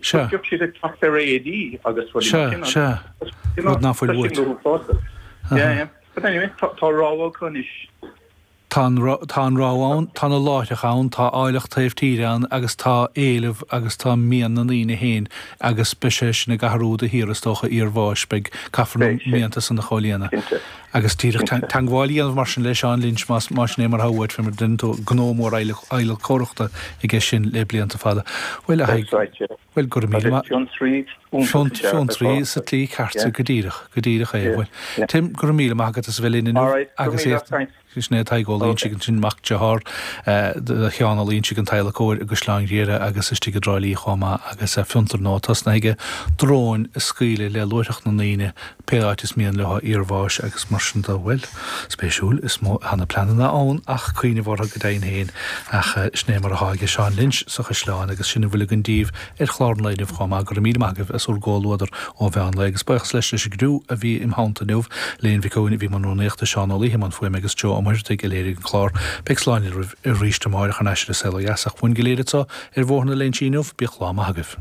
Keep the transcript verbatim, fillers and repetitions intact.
Sea. Bheadh siad ag teacht ar éadaí agus rudaí Sea, mar sin. sea. You know, Rud ná fuil tá sin uait. go huafásach. Yeah, yeah. But anyway, tá tá rogha acu anois. Tá an ro- tá an rogha ann, tá na láithreacha ann, tá áilleacht taobh tíre ann agus tá éileamh agus tá mian na ndaoine féin agus beidh sé sin ag athrú de shíor is dócha iarbháis, beidh caithfear na Beidh sé. mianta san a chomhlíonadh. Cinnte. Agus díreach Cinnte. teagmháil a dhéanamh mar sin le Seán Lynch más más sin é mar atá uait fé mar déanann tú gnó mór adhlacóireachta aige sin le blianta fada. Bhuel a That's Thaidhg, right, yeah. bhuel go raibh míle Agus maith. fiontraí iontach is ea Fiontraí atá. sa tslí ceart Yeah. go díreach, go díreach é. Yeah, Bhuel, yeah. Tim go raibh míle maith agat as a bheith linn inniu All right, go agus míle, é thanks. Sin é Tadhg Ó Loingsigh Okay. sin mac dearthár do Sheán Ó Loingsigh an t-adhlacóir i gCaisleán Ghriaire agus istigh i dTrá Lí chomh maith agus fiontar nua tosnaithe aige dróin a scaoileadh le luaithreach na ndaoine pé áit is mian leo iarbháis agus mar sin de bhuel spéisiúil is mó tá na pleananna ann ach cuimhneamh orthu go deimhin féin ach sin é mar atá aige Seán Lynch sa Chaisleán agus sin a bhfuil againn daoibh ar chlár an lae inniu chomh maith go raibh míle maith agaibh as bhur gcomhluadar ó mheán lae agus buíochas leis leis an gcriú a bhí im theannta inniu Léan Mhic Eoin a bhí i mbun rúnaíochta Seán Ó Laoithe i mbun fuaime agus Joe Ó Muirthigh a léirigh an clár Beidh slán libh arís amárach ar ais ar An Saol Ó Dheas ach uainn go léir anseo ar Bhóthar na Léinsí inniu bíodh lá maith agaibh.